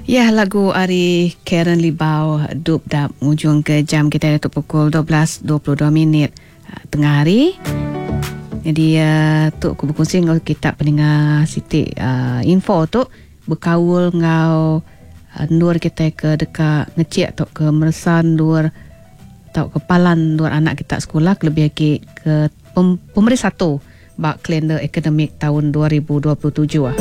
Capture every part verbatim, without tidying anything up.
Ya, lagu ari Karen Libau Dup Dap ngujung ke jam kita itu pukul dua belas dua puluh dua minit tengah hari. Jadi uh, tu aku berkongsi dengan kita pendengar Siti uh, info tu berkaul ngau uh, nur kita ke dekat ngecek atau ke meresan nur atau ke palan nur anak kita sekolah lebih lagi ke pem, pemeri satu bak kalender akademik tahun dua ribu dua puluh tujuh.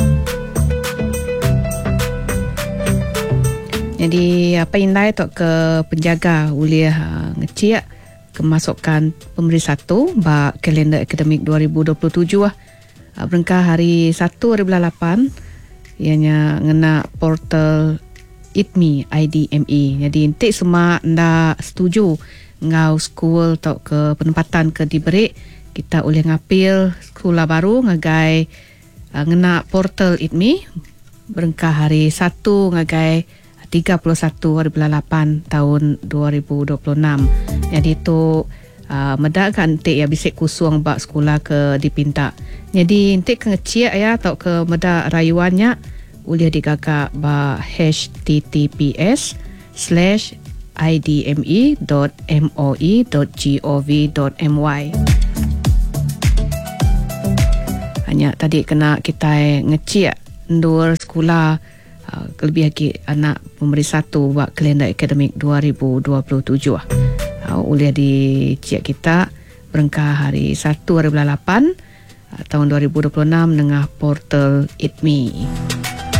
Jadi apa indai tu ke penjaga uliah uh, ngecek kemasukan pemeri satu bak kalender akademik dua ribu dua puluh tujuh uh, berengkah hari satu hari bulan lapan ianya ngena portal I D M E I D M E. Jadi entik semua nda setuju ngau school atau ke penempatan ke diberi kita boleh ngapil sekolah baru ngagai uh, ngena portal I D M E berengkah hari satu ngagai tiga puluh satu hari bulan lapan tahun dua ribu dua puluh enam. Jadi tu uh, medak kan entik ya bisik kusung bak sekolah ke dipinta. Jadi entik ke ngeciak ya atau ke medak rayuannya boleh digagak ba H T T P S slash I D M E dot M O E dot G O V dot M Y. Hanya tadi kena kita ngeciak ndur sekolah Uh, lebih lagi anak pemberi satu buat kalender akademik dua ribu dua puluh tujuh. Uh, oleh dicek kita berengkah hari satu hari bulan lapan uh, tahun dua ribu dua puluh enam dengan portal I D M E.